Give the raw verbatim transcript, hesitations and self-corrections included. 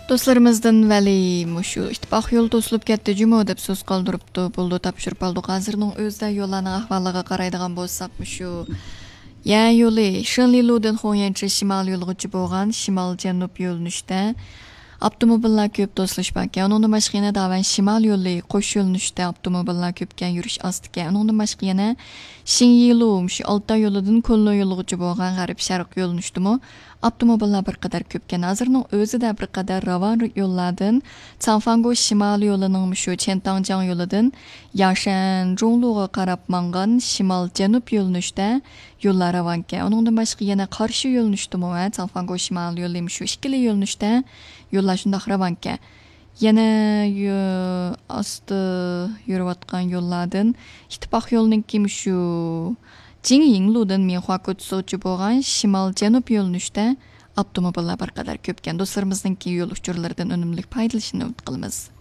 دوستلىرىمىزدىن ۋەلى مۇشۇ ئىتتىپاق يولى توسۇلۇپ كەتتى جۇمۇ دەپ سۆز قالدۇرۇپتۇ. بولدى، تاپشۇرۇپ ئالدۇق. ھازىرنىڭ ئۆزىدە يوللارنىڭ ئەھۋالىغا قارايدىغان بولساق، مۇشۇ يەن يولى شېنلىلۇدىن خۇڭيەنچى شىمال يولىغىچە بولغان شىمال جەنۇب يۆنىلىشتە ئاپتوموبىللار كۆپ توسۇلۇش باركەن. ئۇنىڭدىن باشقا يەنە داۋەن شىمال يولى قوش يۆنىلىشتە ئاپتوموبىللار كۆپكەن، يۈرۈش ئاستىكەن. ئۇنىڭدىن باشقا يەنە شىڭيىلۇ، مۇشۇ ئالتاي يولىدىن كۇنلۇ يولىغىچە بولغان غەرب شەرق يۆنىلىشتىمۇ ئاپتوموبىللار بىر قەدەر كۆپكەن. ھازىرنىڭ ئۆزىدە بىر قەدەر راۋان يوللاردىن، چاڭفاڭگو شىمال يولىنىڭ مۇشۇ چيەنتاڭجياڭ يولىدىن ياشەن جۇڭلۇغا قاراپ ماڭغان شىمال جەنۇب يۆنىلىشتە يوللار راۋانكەن. ئۇنىڭدىن باشقا يەنە قارشى يۆنىلىشتىمۇ، ھە، چاڭفاڭگو شىمال يولى مۇشۇ ئىككىلا يۆنىلىشتە يوللار شۇنداق راۋانكەن. يەنە يو-، ئاستا يۈرۈۋاتقان يوللاردىن ئىتتىپاق يولىنىڭكى مۇشۇ جىڭيىڭلۇدىن مىنخۇا كوچىسىغىچە بولغان شىمال جەنۇب يۆنىلىشتە ئاپتوموبىللار بىر قەدەر كۆپكەن. دوستلىرىمىزنىڭكى يول ئۇچۇرلىرىدىن ئۈنۈملۈك پايدىلىنىشىنى ئۈمىد قىلىمىز.